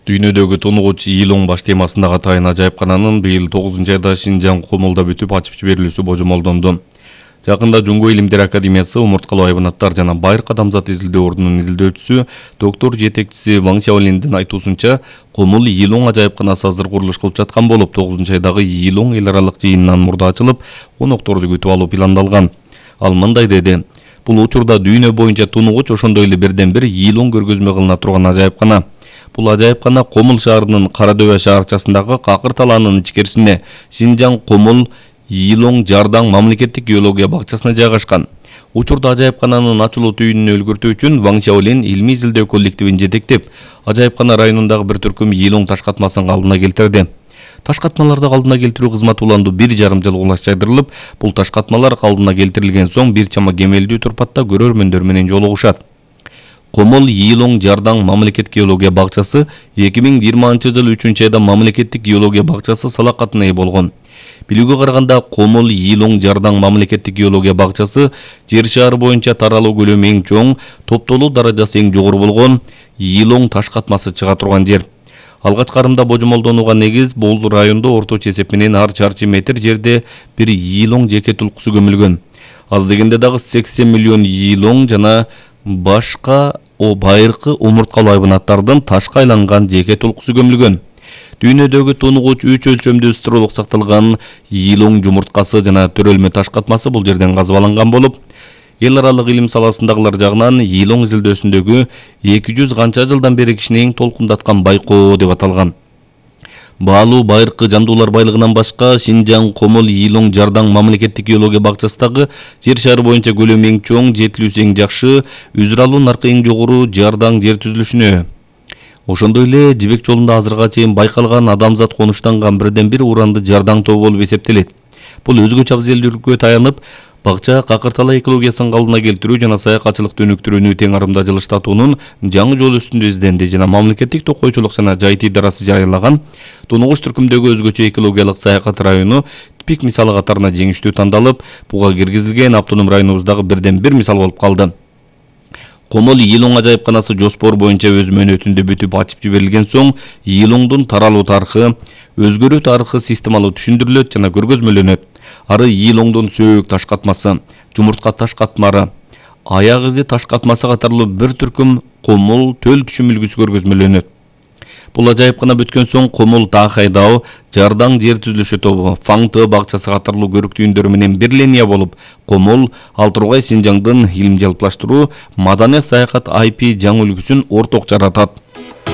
Дүйнөдөгү тунугуч Йилоң баш темасындагы атайын ажайыпкананын быйыл 9-айда Шинжаң Комулда бүтүп ачып жиберилүүсү божомолдонду. Жакында Жумгу Илимдер Академиясы умурткалуу айбанаттар жана байыркы адамзат изилдөө ордунун изилдөөчүсү, доктор жетекчиси Ван Xiaolиндин айтуусунча, Комул Йилоң ажайыпканасы азыр курулуш кылып жаткан болуп, 9-айдагы Йилоң эл аралык жыйынынан мурда ачылып, конокторду күтүп алуу пландалган. Ал мындай деди: "Бул учурда дүйнө боюнча тунугуч ошондой эле бирден бир Йилоң көргөзмө кылына турган ажайыпкана. Бул ажайыпкана Комул шаарынын Карадөбө шаарчасындагы Какыр талаанын ичкерисине, Шинжаң Комул Йилоң Жардаң мамлекеттик геология бакчасына жайгашкан. Учурда ажайыпкананын ачылуу түйүнүнө өлгөртүү үчүн Ван Xiaolин илмий изилдөө коллективин жетектеп, ажайыпкана районундагы бир түркүм Йилоң таш катмасын калдына келтирди. Таш катмаларды калдына келтирүү кызматы уланду 1,5 жыл улашчайдырылып, бул таш катмалар калдына келтирилген соң бир чама кемелдүү турпатта көрөрмөндөр менен жолугушат. Комул Йилоң Жардаң мамлекеттик геология бакчасы 2020 жыл 3-айда мамлекеттик геология бакчасы салакатына ээ болгон. Билүүгө караганда, Комул Йилоң Жардаң мамлекеттик геология бакчасы жер шары боюнча таралуу көлөмү эң чоң, топтолуу даражасы эң жогору болгон Йилоң таш катмасы чыга турган жер. Алгач карымда божомолдонууга негиз бул райондо орточо эсеп менен ар чарчы метр жерде бир Йилоң жеке тулкусу көмүлгөн. Аз дегенде дагы 80 миллион Йилоң жана башка байыркы умурткалуу айбанаттардын ташка айланган жеке тулкусу көмүлгөн. Дүйнөдөгү тунугуч 3 өлчөмдүү стролук сакталган Йилоң жумурткасы жана төрөлмө таш катмасы бул жерден казып алынган болуп, эл аралык илим саласындагылар жагынан Йилоң изилдөөсүндөгү 200 канча жылдан бери кишини эң толкундаткан байкоо деп аталган. Баалуу байыркы жандуулар байлыгынан башка, Шинжаң Комул Йилоң Жардаң мамлекеттик геология бакчасындагы жер шары боюнча көлөмү эң чоң, жетилүүсү эң жакшы, үзүр алуу наркы эң жогору Жардаң жер түзүлүшүнө. Ошондой эле жибек жолунда азыркыга чейин байкалган адамзат конуштанган бирден бир уранды Жардаң тобу болуп эсептелет. Бул өзгөчө абзелдүүлүккө таянып, бакча Какыр талаа экологиясын калдына келтирүү жана саякатчылыкты өнүктүрүүнү тең арымда жылыштатуунун жаңы жол үстүндө изденди жана мамлекеттик токойчулук жана жайыт идарасы жарыялаган тунугуч түркүмдөгү өзгөчө экологиялык саякат району типик мисалы катарына жеңиштүү тандалып, буга киргизилген автоном районубуздагы бирден бир мисал болуп калды. Комул Йилоң ажайыпканасы жоспор боюнча өз мөөнөтүндө бүтүп ачып жиберилген соң, Йилоңдун таралуу тарыхы, өзгөрүү тарыхы системалуу түшүндүрүлөт жана көргөзмөлөнөт. Ары Йилоңдун сөөк таш катмасы, жумуртка таш катмары, аяк изи таш катмасы катарлуу бир түркүм Комул төл түшүм үлгүсү көргөзмөлөнөт. Бул ажайыпкана бүткөн соң Комул Тахайдау, Жардаң жер түзүлүшү тобу, Фаңты бакчасы катарлуу көрүк түйүндөр менен бир линия болуп, Комул Алтургай Шинжаңдын илим жалпылаштыруу, маданият саякат IP жаңы үлгүсүн орток жаратат.